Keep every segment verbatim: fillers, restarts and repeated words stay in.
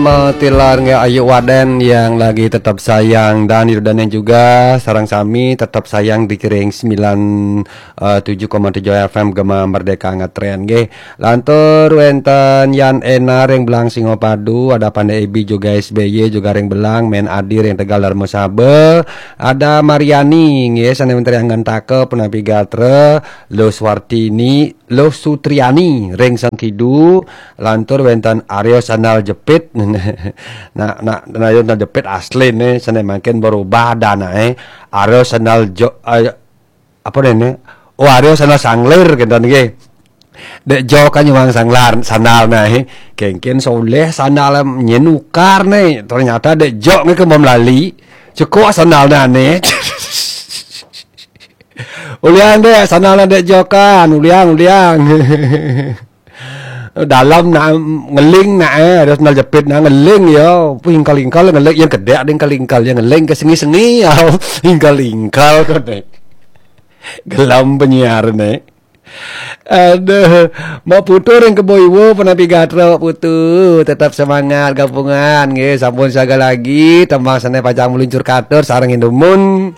Matilar nggih Ayu Waden yang lagi tetap sayang dan Yudane juga sareng sami tetap sayang di Kiring sembilan, eh, tujuh koma tujuh F M Gema Merdeka ngetren nggih. Lantur wenten Yan Ena ring Belang Singapadu, ada Pande Ebi juga S B Y juga ring Belang, Men Adi ring Tegal Darmasaba, ada Mariani nggih sane wenten ring Ngentaka punapi gatra, Lo Swartini, Lo Sutriani ring Sangkidu, lantur wenten Aryo Sandal Jepit. Nah, nah, nah, Aryo Sandal Jepit asline sane mangkin berubah danae. Aryo Sandal Jo, eh, apa dene? Oh, Aryo Sandal Sanglir kenten nggih. Dek Jo kan nyuwang sanglar, sandal nae. Kengken soleh sandal nyen nukar ne. Ternyata Dek Jo nggih kemom lali. Cekok sandal nane. Uliang dek, sandal Dek Jo kan, uliang, uliang. Dalam nak ngeling nak eh, ada sandal jepit nak ngeling ya. Pingkal-ingkal ngeling yang kedek ada ingkal-ingkal yang ngeling ke sengi-sengi ya. Ingkal-ingkal kau dek. Gelam penyiar ne. Aduh, Mbok Putu ring Kebo Iwa, punapi gatra Mbok Putu, tetap semangat gabungan nggih, sampun siaga lagi, tembang sane pacang meluncur katur sareng indumun.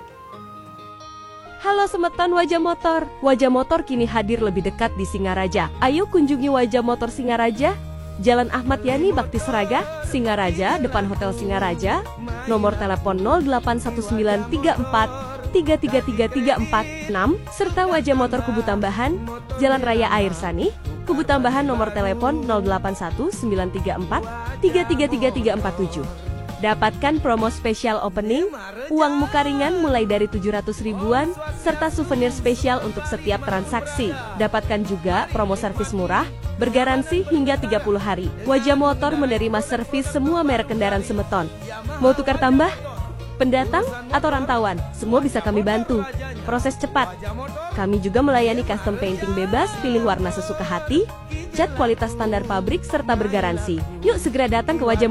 Halo semeton Wajah Motor. Wajah Motor kini hadir lebih dekat di Singaraja. Ayo kunjungi Wajah Motor Singaraja, Jalan Ahmad Yani Bakti Seraga, Singaraja, depan Hotel Singaraja. Nomor telepon nol delapan satu sembilan tiga empat tiga tiga tiga tiga empat enam, serta Wajah Motor Kubu Tambahan, Jalan Raya Air Sanih, Kubu Tambahan, nomor telepon nol delapan satu sembilan tiga empat tiga tiga tiga tiga empat tujuh. Dapatkan promo spesial opening, uang muka ringan mulai dari tujuh ratus ribuan, serta souvenir spesial untuk setiap transaksi. Dapatkan juga promo servis murah, bergaransi hingga tiga puluh hari. Wajah Motor menerima servis semua merek kendaraan semeton. Mau tukar tambah? Pendatang atau rantauan, semua bisa kami bantu. Proses cepat. Kami juga melayani custom painting bebas, pilih warna sesuka hati, cat kualitas standar pabrik, serta bergaransi. Yuk segera datang ke Wajah Motor.